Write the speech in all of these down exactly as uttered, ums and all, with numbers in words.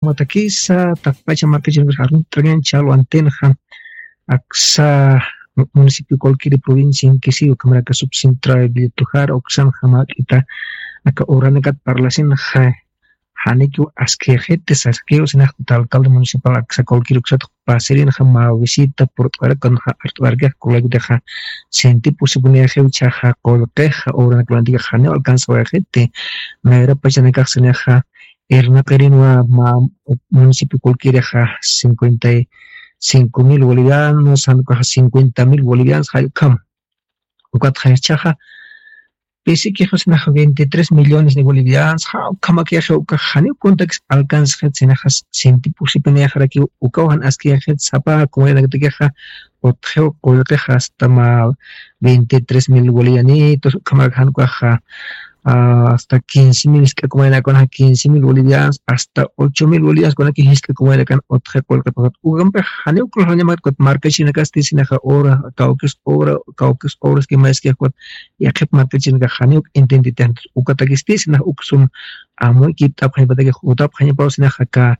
Matakisa taqpacha markachirunkas aruntañan chalwantinxa aksa municipio cualquier provincia inkisiyu kamaraka subcentra billetujara uksan jamak'ita aka uranakat parlasinxa janikiw askixiti saskiw sinaxta alcalde municipal aksa cualquier uksat pasirinxa mä visita purt'warakunxa art'warakix kulaykutixa sinti pusipuniyaxiw chaxa qullqixa uranakulantika janiw alcanzawayxiti nayrapachanakax sinaxa irnaqirinwa mä municipio cualquieraxa cincuenta y cinco mil bolivianos janukaxa cincuenta mil bolivianos jallkam ukatxa ichaxa pisikixu sinaxa veintitrés millones de bolivianos jawkhamakixi ukax janiw kuntakis alcanzxit sinaxa sinti pusipinixarakiw ukaw jan askixit sapa comunidadkatakixa utxiw qullqixa hasta mä veintitrés mil bolivianitos ukhamarak janukaxa hasta quince mil isk'akumaynakunaxa quince mil bolivianos hasta ocho mil bolivianos kunaki jisk'akumaynakan utxi qullqipakat ukampix janiw kulxañamat kut markachinakasti sinaxa obra kawkis obra kawkis obras kimayskix kut yaqhip markachinakax janiw intentitix ukatakisti sinaxa uksum amuykipt'apxañapatakix jutapxañapaw sinaxa ka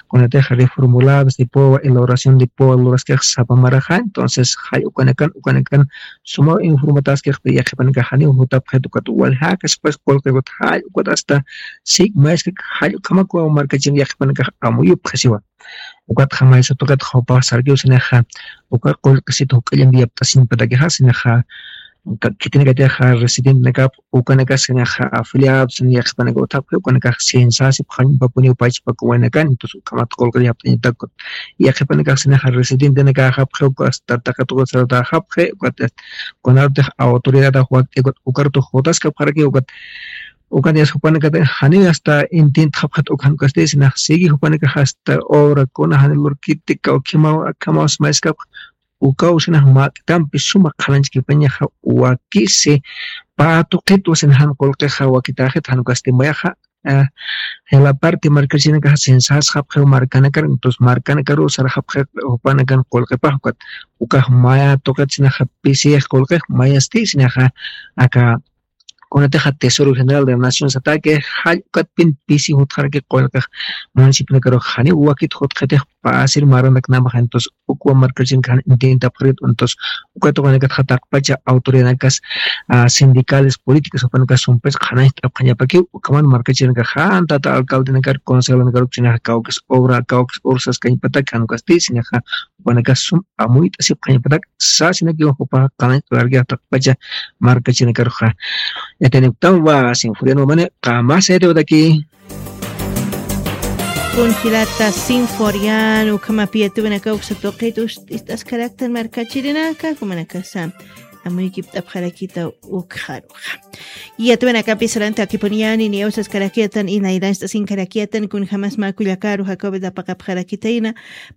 kunatixa reformuladas de poa elaboración de poa luraskix sapamaraxa entonces jay ukanakan ukanakan sumaw informataskixta yaqhipanakax janiw jutapxit ukat waljäkaspas qullqikut jay ukat hasta sik mayskak jay ukhamakuwa markachin yaqhipanakax amuyupxasiwa ukatxa maysa tuqit jupax sarkiw sinaxa uka qullqisit juk'allampi yapt'asiñpatakixa sinaxa khitinakatixa residentenakap ukanakas sinaxa afiliados sina yaqhipanaka utjapxi ukanakax censasipxañpapuniw pachpakuwaynakan entonces ukhamat qullqi yapt'añatakut yaqhipanakax sinaxa residentenakaxapxi uka hasta taqi tuqit sarutaxapxi ukat kunarutix autoridadax wakt'ikut ukarutix jutaskapxaraki ukat ukan yas jupanakata janiw hasta intentxapxat ukan kasti sinax sigui jupanakax hasta obra kuna jani lurkiti kawkhimaw akhamaw smayskapx ukaw sinax mak'tampi suma qhananchkipañaxa wakisi pä tuqitwa sina jan qullqixa wakitaxit jan kasti mayaxa jila parte markachinakaxa sensasxapxiw markanakar entonces markanakaruw sarxapxi jupanakan qullqipax ukat ukax maya tuqit sinaxa pisix qullqix mayasti sinaxa aka kunatixa tesoro general de la nación sataki jall ukatpin pisi jutxaraki qullqix municipionakarux janiw wakit jutxitix pasir maranaknamaxa entonces ukwa markachinakaxan intentapxarit entonces ukatuqanakatxa taqpacha autoridadnakas sindicales políticas upanakas sumpis qhanañcht'apxañapakiw ukhaman markachinakaxan tata alcaldenakar concejalnakaruksinaxa kawkis obra kawkis obra saskañpatak janukasti sinaxa upanakas sum amuyt'asipxañpatak sasinakiw jupaxa qhanañcht'arkixa taqpacha markachinakaruxa yatiniktam wa sinfurianwamani qamasayatiwataki Kunjilata sinforian ukhamapi yatiwanaka uksa tuqit ist'askaraktan markachirinaka jumanakasa amuykipt'apxarakita ukxaruxa yatiwanakapi saranti akipuniyani niyaw saskarakiyatan inayranchta sinkarakiyatan kunjamas mä kullakaru jacob apaqapxarakitayna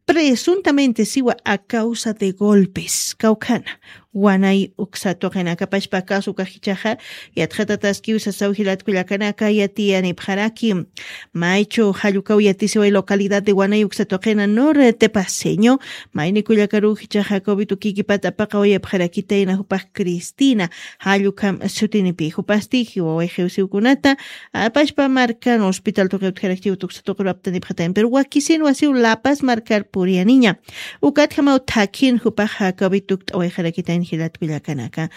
presuntamente siwa a causa de golpes kawkhana wanay uksa tuqinakapashpa kasu kajichaxa yatxatataskiw sasaw jilatkullakanaka yatiyanipxaraki maychu jallukaw yatisiway localidad de wanay uksa tuqina norte paseño maynikullakaruw jichaxa covid ukikipata apaqawayapxarakitayna jupax cristina jallukam sutinipi jupasti jiwaway jiwsiwkunata apashpa markan hospital tuqi utjarakchiw tuksa tuqiraptanipxatayan pero wakisin wasiw lapas markar puriyaniña ukatjamaw thakhin jupaxa covid tukt'awayxarakitayn jilatkullakanaka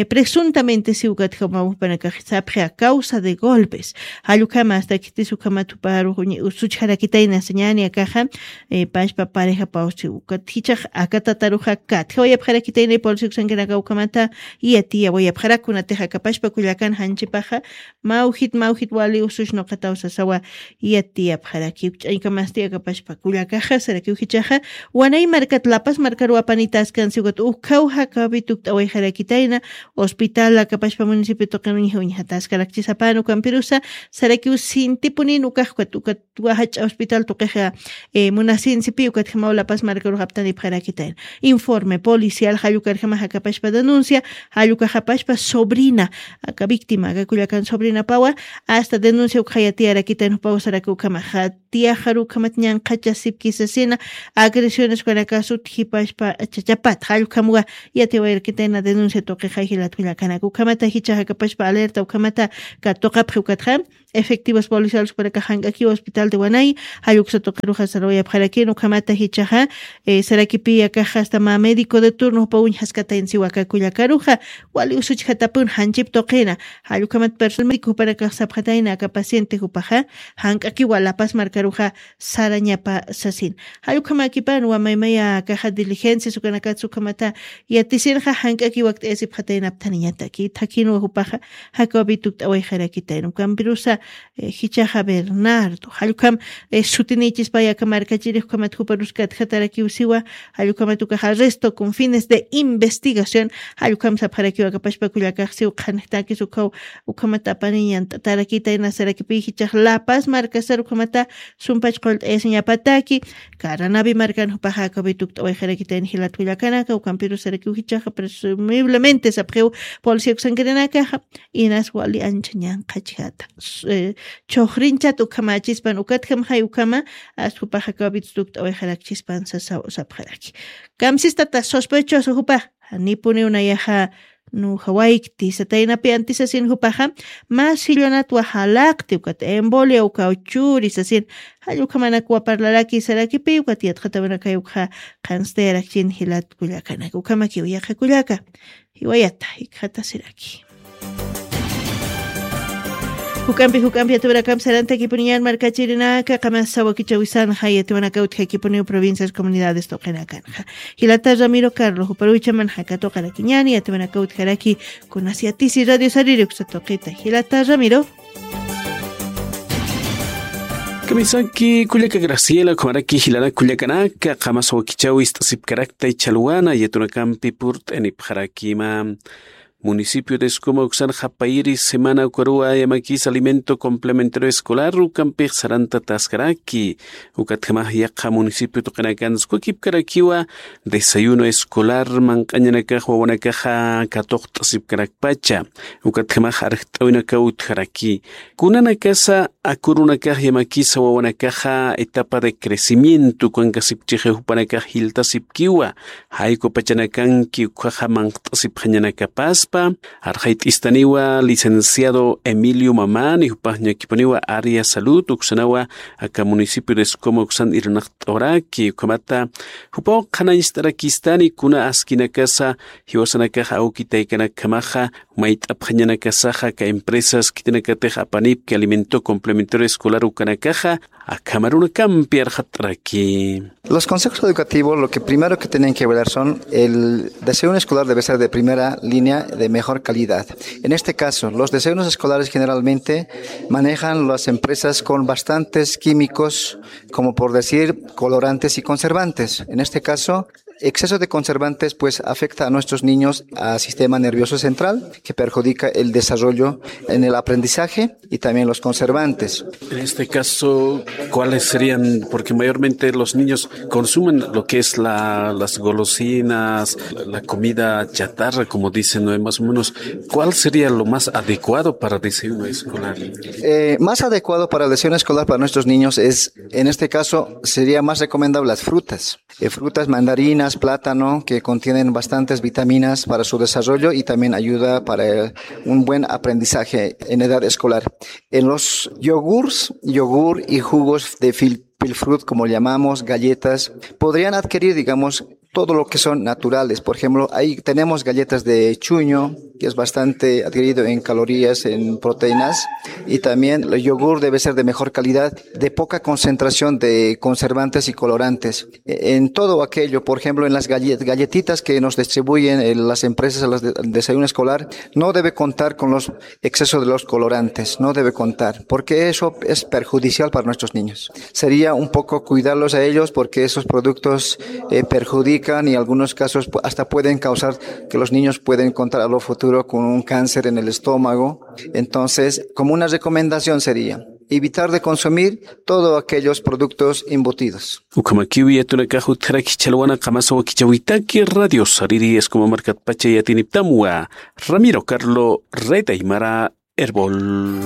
presuntamente si ukatjamaw jupanakax sapxi a causa de golpes jallukama asta khitis ukhamat juparu usuchjarakitayna sañani akaxa pashpa pareja pawsi ukat jichax akatataruxa katjawayapxarakitayna polisi uksankanaka ukhamata yatiyawayapxarak kunatix akapashpa kullakan janchipaxa mawjit mawjit wali usush nuqataw sasawa yatiyapxaraki ukch'añkamasti akapashpa kullakaxa sarakiw jichaxa wanay markat lapas markaruw apanitaskänsi ukat ukhaw jakawi tukt'awayxarakitayna hospital akapashpa municipio tuqin uñja uñjataskarakchisapan ukampirusa sarakiw sintipunin ukax ukat ukat wajach'a hospital tuqixa munasinsipi ukatjamaw lapas markarux aptanipxarakitayna informe policial jallukarjama jakapashpa denuncia jallukaxapashpa sobrina aka víctima aka kullakan sobrinapawa asta denuncia ukxayatiyarakitayna jupaw saraka ukhama jatiyaxaru ukhamat ñanqhachasipkisasina agresiones ukanakasut jipashpa chachapat jallukhamwa yatiwayarakitayna denuncia tuqixa jilat kullakanaka ukhamata jichaxakapashpa alerta ukhamata katuqapxi ukatxa efectivos policiales jupanakax jank'akiw hospital de Wanay, jall uksa tuqiruxa sarawayapxarakïn. Ukhamata jichhaxa, eh, sarakipi akaxa hasta mä médico de turno jupa uñjaskatayna siwa aka kullakaruxa, wali usuchjatapun janchip tuqina. Jall ukhamat personal médico jupanakax sapxatayna aka paciente jupaxa, jank'akiwa La Paz markaruxa sarañapa sasin. Jall ukhamakipan wa maymaya akaxa diligencias ukanakatsa ukhamata yatisinxa jank'akiw wakt'ayasipxataynaptaniñataki. Thakhinwa jupaxa, jakaw Vito ukt'awayxarakitayna. Ukampirusa, eh, jichhaxa Bernardo. Jall ukham, eh, sutinïchispa aka markachirix ukhamat juparus katjatarakiw siwa, jall ukhamat ukax arresto con fines de investigación, jall ukham sapxarakiw aka pachpa kullakax siw qhanjtakis ukhaw, ukhamat apaniñant'atarakitayna sarakipi jichhax La Paz markasar ukhamata sumpach qullt'ayasiñapataki, Caranavi markan jupaxa aka Vito ukt'awayxarakitayna jilat kullakanaka, ukampirusarakiw jichhaxa presumiblemente sapxiw policía uksankirinakaxa, inas wali ancha ñanqhachjata. S-, eh, chhuxrinchat ukhamachispan, ukatjamxay ukhama, as jupaxa aka Vito ukt'awayxarakchispan sasaw sapxaraki. Kamsistata sospechoso jupax, janipuniw nayaxa nujawaykti sataynapi antisasin jupaxa, mä sillunatwa jalaqti, ukat embolia ukaw churi sasin, jall ukhamanakwa parlaraki sarakipi, ukat yatxatawanakay ukxa qhanstayarakchin jilat kullakanak. Ukhamakiw yaqha kullaka, jiwayata, jikxatasiraki. Juk'ampi, juk'ampi yatiwanakamp sarantakipuniñan markachirinaka, qamasa wakichawisanxa yatiwanaka utjakipuniw provincias, comunidades tuqinakanxa. Jilata Ramiro Carlos, juparuchamanxa katuqarakiñani, yatiwanaka utjaraki kunas yatisi Radio Sariri uksa tuqita. Jilata Ramiro. Kamisaki kullaka Graciela, ukhamaraki jilanak kullakanaka, qamasa wakichawi ist'asipkarakta chhalwana, yatunakampi purt'anipxarakima. Municipio de Escoma uksan japayiri semana ukaruwa yamakis alimento complementario escolar ukampix saranta taskaraki. Ukatjamax yaqha municipio tuqinakan sukakipkarakiwa desayuno escolar manq'añanakax wawanakaxa katuqt'asipkarakpacha. Ukatjamax arjt'awinakaw utjaraki. Kunanakasa akurunakax yamakisa wawanakaxa etapa de crecimiento ukankasipchixi jupanakax jiltasipkiwa. Jayku pachanakanki ukhaxa manqt'asipxañanakapaspa, arxayt'istaniwa licenciado Emilio Mamani, jupax ñakipuniwa área salud uksanawa aka municipio de Escoma uksan irnaqt'awraki, ukhamata jupaw qhanañcht'arakistani kuna askinakasa jiwasanakax awkitaykanakjamaxa, mayt'apxañanakasaxa aka empresas khitinakatix apanipki alimento complementario escolar ukanakaxa, akhamarunakampi arxat'araki. Los consejos educativos lo que primero que tienen que velar son el desayuno escolar debe ser de primera línea, de mejor calidad. En este caso, los desayunos escolares generalmente manejan las empresas con bastantes químicos, como por decir colorantes y conservantes. En este caso, exceso de conservantes pues afecta a nuestros niños, al sistema nervioso central, que perjudica el desarrollo en el aprendizaje y también los conservantes. En este caso, ¿cuáles serían? Porque mayormente los niños consumen lo que es la, las golosinas, la, la comida chatarra, como dicen, ¿no? Más o menos, ¿cuál sería lo más adecuado para desayuno escolar? Eh, más adecuado para el desayuno escolar para nuestros niños es, en este caso, sería más recomendable las frutas. Eh, frutas, mandarinas, plátano, que contienen bastantes vitaminas para su desarrollo y también ayuda para, eh, un buen aprendizaje en edad escolar. En los yogurts, yogur y jugos de fil-, pilfrut, como llamamos, galletas, podrían adquirir, digamos, todo lo que son naturales. Por ejemplo, ahí tenemos galletas de chuño, que es bastante adquirido en calorías, en proteínas, y también el yogur debe ser de mejor calidad, de poca concentración de conservantes y colorantes. En todo aquello, por ejemplo, en las galle-, galletitas que nos distribuyen, eh, las empresas a los de-, desayuno escolar, no debe contar con los excesos de los colorantes, no debe contar, porque eso es perjudicial para nuestros niños. Sería un poco cuidarlos a ellos porque esos productos, eh, perjudican y en algunos casos pu-, hasta pueden causar que los niños pueden contar a lo futuro con un cáncer en el estómago. Entonces, como una recomendación sería evitar de consumir todos aquellos productos embutidos. Ukhamakiw yatunakax utjaraki chhalwana qamasa wakichäwitaki Radio Sariri Escoma markatpacha yatiniptamwa Ramiro Carlo Rey Aymara Erbol.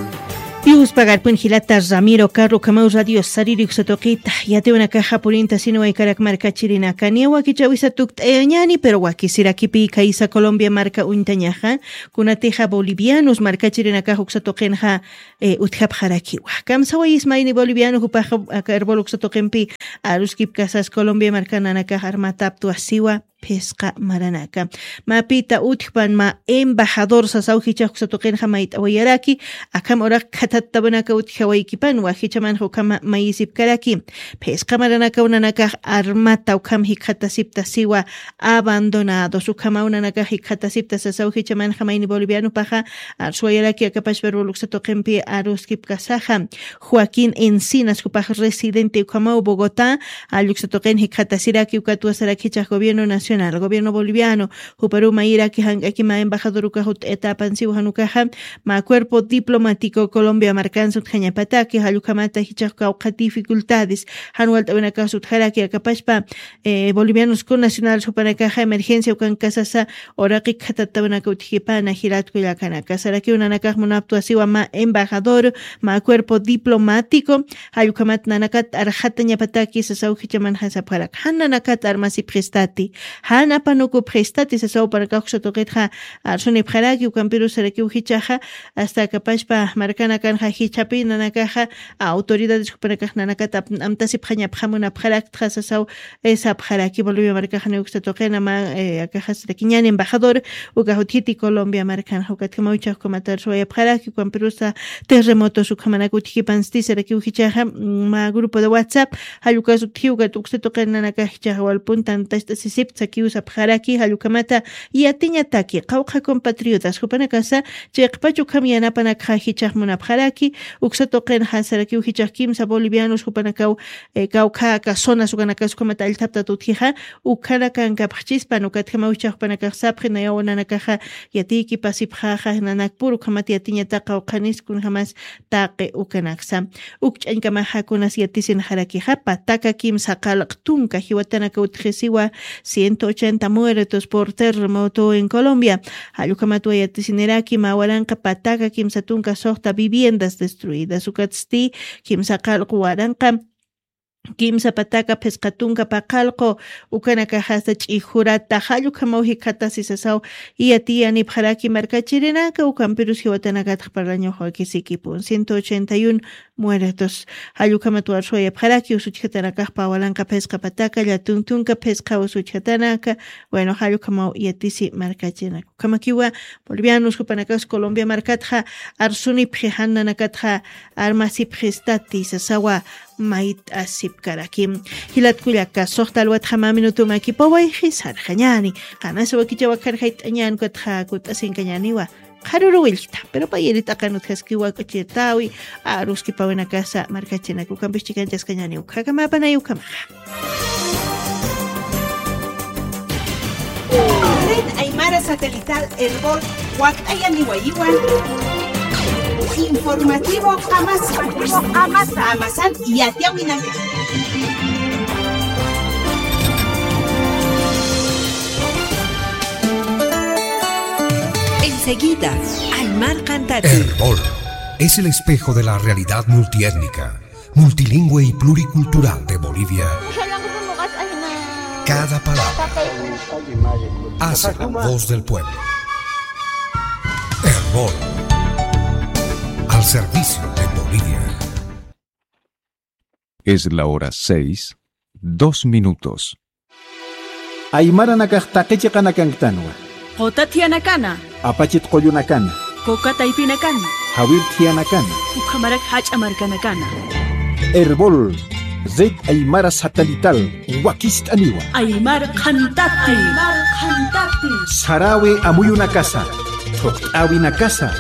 Dios pagarpun jilata Ramiro Carlo, ukhamaw radio sariri uksa tuqita. Yatiwanakaxa purinta sini waykarak markachirinaka. Niya wakichawisa tukt'ayañani, pero wakisirakipi kaysa Colombia marka uñtañaxa. Kunatixa bolivianos markachirinakax uksa tuqinxa, eh, utjapxarakiwa. Kamsawayis mayni boliviano jupaxa aka Erbol uksa tuqinpi aruskip kasas Colombia marka nanakax armataptwa siwa. Phisqa maranaka. Mä pita utjpan mä embajador sasaw jichhax uksa tuqinxa mayt'awayaraki, akham uraq khathattawanaka utjawaykipanwa, jichhamanxa ukham mayisipkaraki. Phisqa maranakaw nanakax armata ukham jikxatasipta siwa abandonados. Ukhamaw nanakax jikxatasipta sasaw jichhamanxa mayni bolivianopaxa arsuwayaraki akapachpa Erbol uksa tuqinpi aruskip kasaxa. Joaquín Encinas, jupax residente ukhamaw Bogotá, jall uksa tuqin jikxatasiraki ukatwa sarak jichhax gobierno nacional, gobierno boliviano, juparuw mayiraki jank'aki mä embajador ukax ut'ayatapan siwa jan ukaxa, mä cuerpo diplomático Colombia markansa utjañapataki, jall ukhamata jichhax kawkha dificultades, jan walt'awinakas utjaraki akapachpa, eh, bolivianos connacionales jupanakaxa emergencia ukankasasa, uraqi khathattawanaka utjkipana jilat kullakanaka. Sarakiw nanakax munaptwa siwa mä embajador, mä cuerpo diplomático, jall ukhamat nanakat arxatañapataki sasaw jichhamanxa sapxarak. Jan nanakat armasipxistati, jan apanukupxistati sasaw jupanakax uksa tuqitxa arsunipxaraki, ukampirus sarakiw jichhaxa, hasta akapachpa markanakanxa jichhapi nanakaxa autoridades jupanakax nanakat ap-, amtasipxañapxamunapxaraktxa sasaw, eh, sapxaraki. Bolivia markaxaniw uksa tuqina mä, eh, akaxasirakiñani embajador, ukax utjiti Colombia markanxa, ukatjamaw jichhax ukhamat arsuwayapxaraki, ukampirusa terremotos ukhamanak utjkipansti sarakiw jichhaxa, mm, mä grupo de WhatsApp, jall ukas utji ukat uksa tuqin nanakax jichhaxa walpun tantacht'asisipta sakiw sapxaraki, jall ukhamata yatiñataki, qawqha compatriotas, jupanakasa, chiqpach ukham yanapanakxa jichhax munapxaraki, uksa tuqinxa sarakiw jichhax kimsa bolivianos jupanakaw, eh, kawkha aka zonas ukanakas ukhamat allthaptat utjixa, ukhanakankapxchispan, ukatjamaw jichhax jupanakax sapxi, nayaw nanakaxa yatiykipasipxaxa, nanakpur ukhamat yatiñata qawqhanis kunjamas taqi ukanaksa. Uk ch'añkamaxa kunas yatisinxarakixa, pataka kimsa qalq tunka jiwatanaka utjisiwa, ciento ochenta muertos por terremoto en Colombia. Jall ukhamatwa yatisiniraki, mä waranqa pataka kimsa tunka suxta viviendas destruidas, ukatsti kimsa qalq waranqa kimsa pataka phisqa tunka paqallqu ukanakaxasta ch'ijurata, jall ukhamaw jikxatasi sasaw yatiyanipxaraki markachirinaka, ukampirus jiwatanakatx parlañax wakisikipun. Ciento ochenta y uno muertos. Jall ukhamat arsuwayapxaraki, usuchjatanakax pä walanqa phisqa pataka, llatun tunka phisqa usuchjatanaka, bueno, jall ukhamaw yatisi markachirinaka. Ukhamakiwa bolivianos jupanakax Colombia markatxa arsunipxi, jan nanakatxa armasipxistati sasawa mayt'asipkaraki. Jilat kullaka, suxta alwatxa mä minuto makipawayxi sarxañani. Qanasa wakichaw akharjayt'añan, ukatxa kutt'asinkañaniwa. Qharuru willkta, pero payiri t'aqan utjaskiwa k'uchirtawi, aruskipawinakasa markachirinaka, ukampis chikanchaskañani, ukhakamapanay ukhamaxa. Red Aymara Satelital Erbol, wakt'ayaniwayiwan. Informativo Amasa. Amasan yatiyawinan. Enseguida, Aymar Cantati. Erbol es el espejo de la realidad multiétnica, multilingüe y pluricultural de Bolivia. Cada palabra hace la voz del pueblo. Erbol, al servicio de Bolivia. Es la hora seis, dos minutos. Aymaranakax taqi chiqanakanktanwa. Quta thiyanakana. Apachit qullunakana. Coca taypinakana. Jawir thiyanakana. Ukhamarak jach'a markanakana. Erbol, Red Aymara Satelital, wakist'aniwa. Aymar Qhantati. Aymar Qhantati. Sarawi amuyunakasa, thuqt'awinakasa,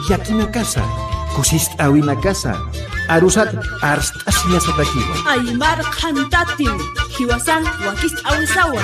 yakinakasa, kusist'awinakasa, arusat arst'asiñasatakiwa. Aymar Qhantati, jiwasan wakist'awisawa.